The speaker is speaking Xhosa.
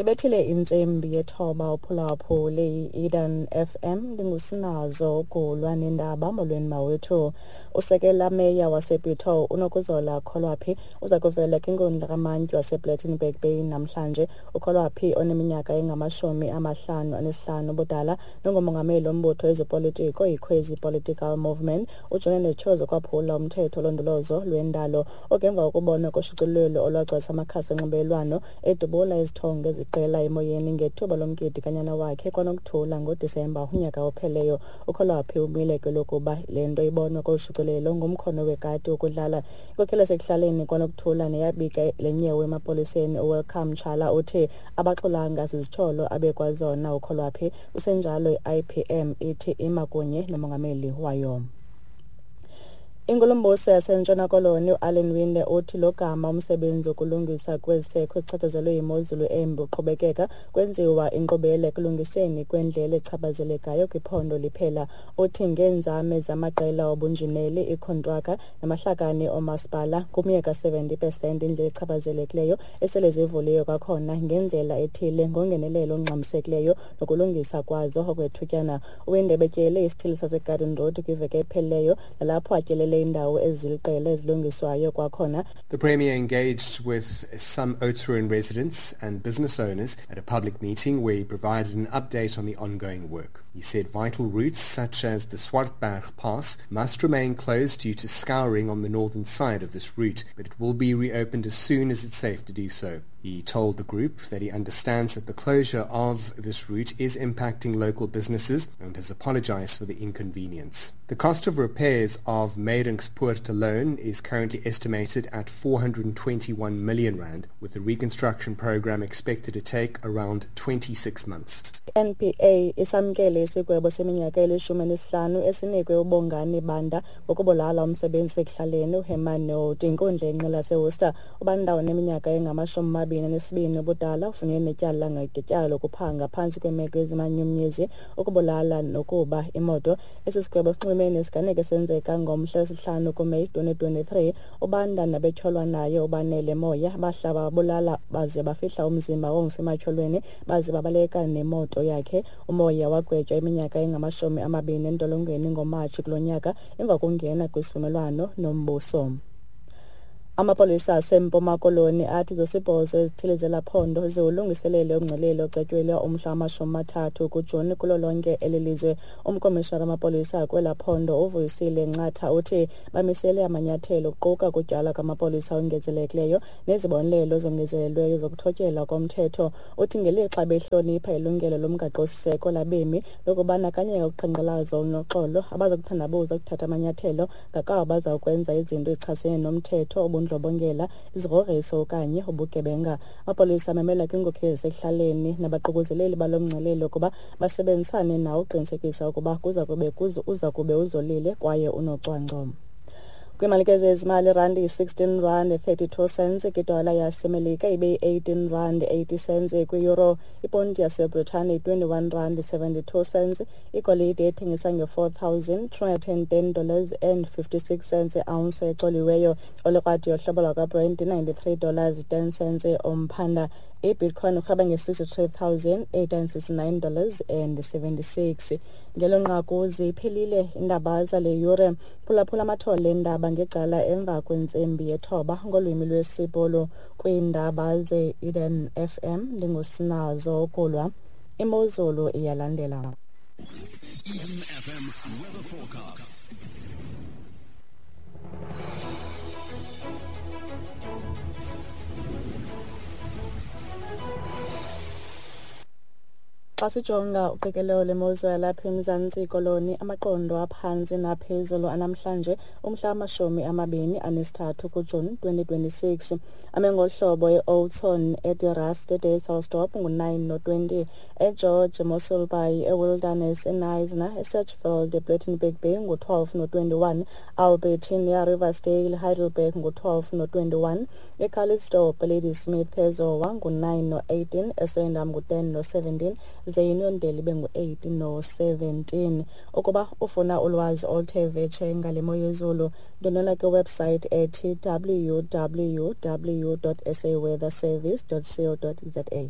Ibethile intsimbi yethoba uphulaphule i-Eden FM, ndingusinazo ugulwa nendaba. Molweni mawethu. Usekela meya waseBitou uNokuzola Kholwaphi uza kuvela kwinkundla kamantyi wasePlettenberg Bay namhlanje. UKholwaphi oneminyaka engama-55 ubudala nongumongameli wombutho wezopolitiko iKhwezi Political Movement ujongene nezityholo zokwaphula umthetho olondolozo lwendalo ogemva kokubonwa koshicilelo olwagcwalisa amakhasi onxibelelwano edubula izithongo eziqela emoyeni ngethuba lomgidi kanyana wakhe kwaNokuthula ngoDisemba unyaka opheleyo. UKholwaphi umile kwelokuba le nto ibonwa kolu shicilelo ngumkhono wekati wokudlala. Inkokheli yasekuhlaleni kwaNokuthula neyabika le nyewe emapoliseni uWelcome Tshala uthi abaxolanga zizityholo abekwazona uKholwaphi. Kusenjalo i-IPM ithi ima kunye nomongameli wayo. Inkulumbuso yaseNtshona Koloni uAllan Winde uthi logama umsebenzi wokulungisa kweziseko ezichatshazelwe yimozulu embi uqhubekeka, kwenziwa inkqubela ekulungiseni kwendlela echaphazelekayo kwiphondo liphela. Uthi ngeenzame zamaqela obunjineli, iikhontraka namahlakani oomasipala, ngumye ka-70% indlela echaphazelekileyo esele zivuliwe kwakhona ngendlela ethile ngongenelelo olungxamisekileyo nokulungisa kwazo okwethutyana. UWinde betyele isithili saseGarden Road kwiveki ephelileyo nalapho atyelele indawo eziliqela ezilungiswayo kwakhona. The Premier engaged with some Oudtshoorn residents and business owners at a public meeting where he provided an update on the ongoing work. He said vital routes such as the Swartberg Pass must remain closed due to scouring on the northern side of this route, but it will be reopened as soon as it's safe to do so. He told the group that he understands that the closure of this route is impacting local businesses and has apologized for the inconvenience. The cost of repairs of Maidenpoort alone is currently estimated at 421 million rand, with the reconstruction program expected to take around 26 months. NPA isamkele isigwebo seminyaka eli-15 esinikwe uBongani Banda ngokubulala umsebenzi ekuhlaleni uHerman Nolt. Inkundla yenqila yaseWorcester. UBanda oneminyaka engama-22 ubudala ufunyenwe netyala ngetyala lokuphanga phantsi kweemeko ezimanyumnyezi, ukubulala nokuba imoto. Esi sigwebo sinxulumene nesiganeko esenzeka ngomhla wesi-5 kuMeyi 2023. UBanda nabetyholwa naye uBanele Moya bahlaba babulala baze bafihla umzimba womfi ematyholweni baze babaleka nemoto yakhe. UMoya wagwetywa iminyaka engama-20 entolongweni ngoMatshi kulo nyaka emva kokungena kwisivumelwano nombuso. Amapolisa aseMpuma Koloni athi zosibhozo ezithile zelaphondo ziwulungiselele umngcelele ocetyelwe umhla wama-30 kuJuni kulo lonke eli lizwe. Umkomishara wamapolisa kwela phondo uVuyisile Ncatha uthi bamisele amanyathelo kuquka ukutyalwa kwamapolisa ongezelelekileyo nezibonelelo ezongezelelweyo zokuthotyelwa komthetho. Uthi ngelixa behlonipha ilungelo lomgaqosiseko labemi lokubandakanyeka kuqhankqalazo olunoxolo, abazokuthandabuza ukuthatha amanyathelo ngakabo bazawukwenza izinto ezichasene nomthetho, ubundlobongela, izigrogriso okanye ubugebenga. Amapolisa amemela kwiinkokheli zasekuhlaleni nabaququzeleli balo mngcelele ukuba basebenzisane nawo ukuqinisekisa ukuba uza kube uzolile kwaye unocwangco. Kwimalikezo yezimali, irandi yi-16 rand 32 cents kwidola yaseMelika, ibe yi-18 rand 80 cents kwi-euro. Iponti yaseBritane yi-21 rand 72 cents. Igolide ethengisa nge-$4,210 and 56 cents i-ounce ecoliweyo. Olikrwadi yohlobo lwakwaBrent $93 10 cents umphanda. I-Bitcoin urhweba nge-$63,869 and 76. Ngelo nqaku ziphelile iindaba zale yure. Phulaphula amathole eendaba ngecala emva kwentsimbi yethoba ngolwimi lwesiBhulu kwiindaba ze-Eden FM. Ndingusinazo Kulwa. Imozulu iyalandela. Eden FM weather forecast. Xa sijonga uqikelelo lwemozulu yalapha eMzantsi Koloni, amaqondo aphantsi naphezulu anamhlanje umhla wama-23 kuJuni 2026 ame ngohlobo: e-Oudtshoorn, eDe Rust, eDysselsdorp ngu-9 no-20, eGeorge, Mossel Bay, eWilderness, eKnysna, eSedgefield, ePlettenberg Bay ngu-12 no-21, Albertinia, Riversdale, Heidelberg ngu-12 no-21, eCalitzdorp, Ladysmith, eZowa ngu-9 no-18, eSwellendam ngu-10 no-17, ze iUniondale ibe ngu-8 no-17. Ukuba ufuna ulwazi oluthe vetshe ngale mo yezulu, ndwendwela kwiwebsite ethi www.saweatherservice.co.za.